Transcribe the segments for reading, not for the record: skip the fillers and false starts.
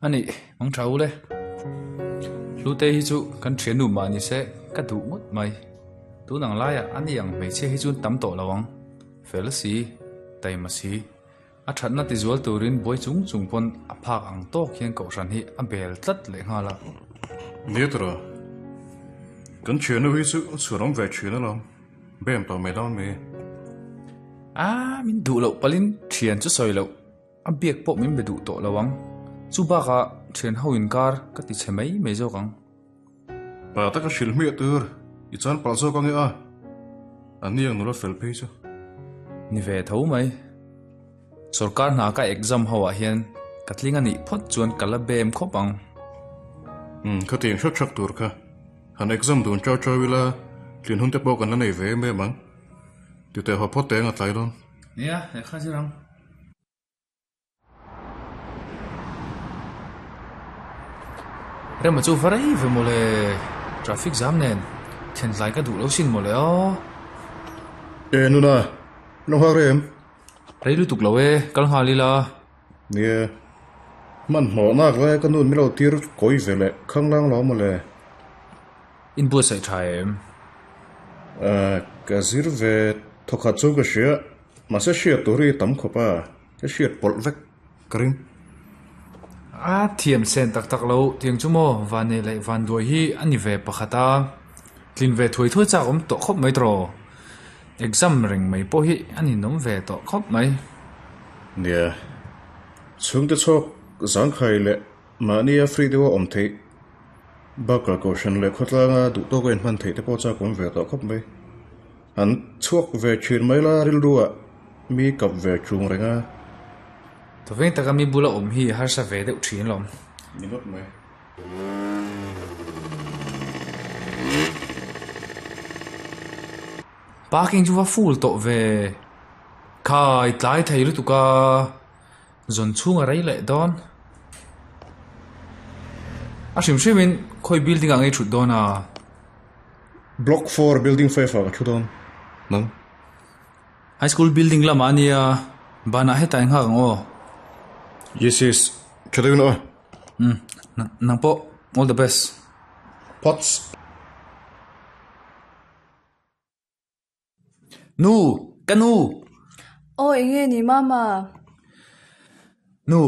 A nih, mang tha u le. Hlute hi chu kan thiannu mah ni se ka duh ngawt mai. Tun ang laiah a ni ang hmeichhia hi chuan tam tawh lo ang. Fel si, taima si. A thatna tizual turin buai chung chung pawn a phak ang tawk hian kohhran hi a bel tlat leh nghal a. Nia tawh, kan thiannu hi chu chhuan awm ve thin alawm. Bem tawh mai dawn mi. A, min duh loh palin thian chu sawi loh. A biak pawh min be duh tawh lo ang. Chu bakah thian ho inkar ka ti chhe mai mai zawk ang. Pa taka hrilh hmiah tur i chan palh zawk ange a, a hniang nula fel phei chu. Ni ve tho mai. Sorkar hna ka exam ho ah hian ka tling a nih phawt chuan ka la bem khawp ang. Umm, khatiang hrat hrat tur kha han exam dun chau chau ila tlin hun te pawh kan la nei ve em em ang. Titeh haw phawt teng a tlai dawn. Nia, lehkha zir ang. Rema chu va rei ve mawle, traffic jam nen thlentlai ka duh lo sin mawle aw. E nuna, lo nghak rem. Rei lutuk lo e, kal nghal ila. Nia, hmanhmawh nak lai ka nun milo tir kawi ve leh khanglang lo mawle. Inbuatsaih tha em? Ka zir ve thawkhat chu ka hria, mahse hriat tur hi tam khawp a, ka hriat pawlh vek ka ring. A thiam sen tak tak lo, tiang chu maw Vanei leh Vanduai hi a ni ve pakhat a, tlin ve thuai thuai chak awm tawh khawp mai tawh. Exam reng mai pawh hi a ninawm ve tawh khawp mai. Nia, chhungte chhawk zangkhai leh Mahnia free deuha awm theih bakah kohhran leh khawtlanga duh tawka inhman theih te pawh chak awm ve tawh khawp mai. An chhuak ve thin mai la rilruah mi kap ve chung reng a. Tawveng taka mi bula awm hi harsa ve deuh thin lawm. Ni ngawt mai. Parking chu va full tawh ve. Khai tlai thei lutuk a. Zawn chhung a rei leh dawn. A hrim hrimin khawi building ah ngei thut dawn a? Block 4 building 5 ah ka thu dawn. Nang? High school building lamah a nia, banah hetah i nghak ang aw. Yes yes, tha deuhin aw. Umm, nang pawh all the best. Pots. Nu! Ka nu! Aw eng nge ni mama? Nu!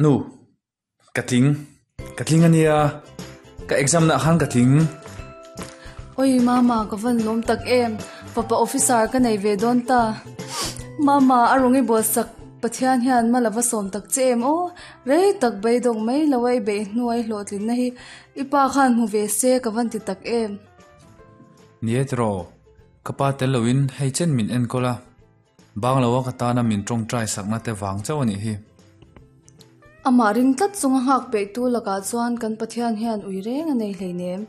Nu! Ka tling. Ka tling a nia. Ka exam nah khan ka tling. Oi mama ka van lawm tak em. Fapa officer ka nei ve dawn ta. Mama a rawn i buatsak Pathian hian ma lova sawm tak che em aw. Rei tak beidawng mai lo a i beih hnuai hlawhtlinna hi i pa khan hmu ve se ka van ti tak em. Ni e tiraw, ka pa tel loin hei chen min enkawl a, bang loa ka tana min tawngtai sakna te vang chauh a nih hi. Amah ring tlat chunga nghak peihtu lakah chuan kan Pathian hian ui reng a nei hleinem.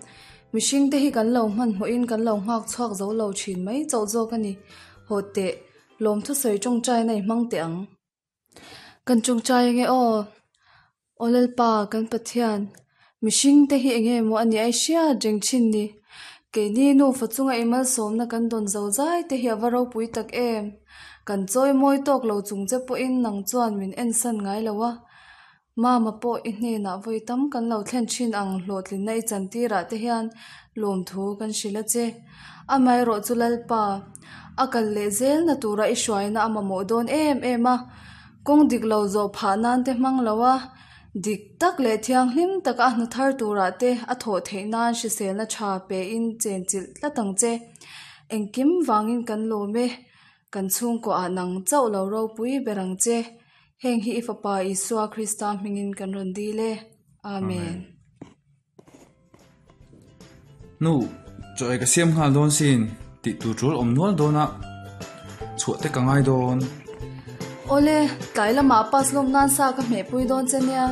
Mihring te hi kan lo hmanhmawhin kan lo nghak chhuak zo lo thin mai chauh zawk a ni. Haw teh, lawmthusawi tawngtaina i hmang teh ang. Kan chungchai enge aw? Aw Lalpa, kan Pathian, mihring te hi enge maw a nih ai hriat reng thin ni? Keini nufa chunga i malsawmna kan dawn zo zai te hi a va ropui tak em? Kan chawi mawi tawk lo chung che pawhin nang chuan min ensan ngai lo a. Mama pawh i hnenah vawi tam kan lo thlen thin ang hlawhtlinna i chantirah te hian lawmthu kan hrilh a che. Amaherawh chu Lalpa, a kal leh zelna tura i hruaina a mamawh dawn em em a, kawng dik lo zawh phah nan te hmang lo a, dik tak leh thianghlim taka a hna thar turah te a thawh theih nan hriselna tha pein chenchilh tlat ang che. Engkim vangin kan lawm e, kan chhungkuah nang chauh lo ropui ber ang che. Heng hi i Fapa Isua Krista hmingin kan rawn dil e. Amen. Nu, chaw ei ka siam nghal dawn sin tih tur tul awm nual dawn a, chhuah te ka ngai dawn. Awle, tlai lamah pass lawm nan sa ka hmehpui dawn che nia.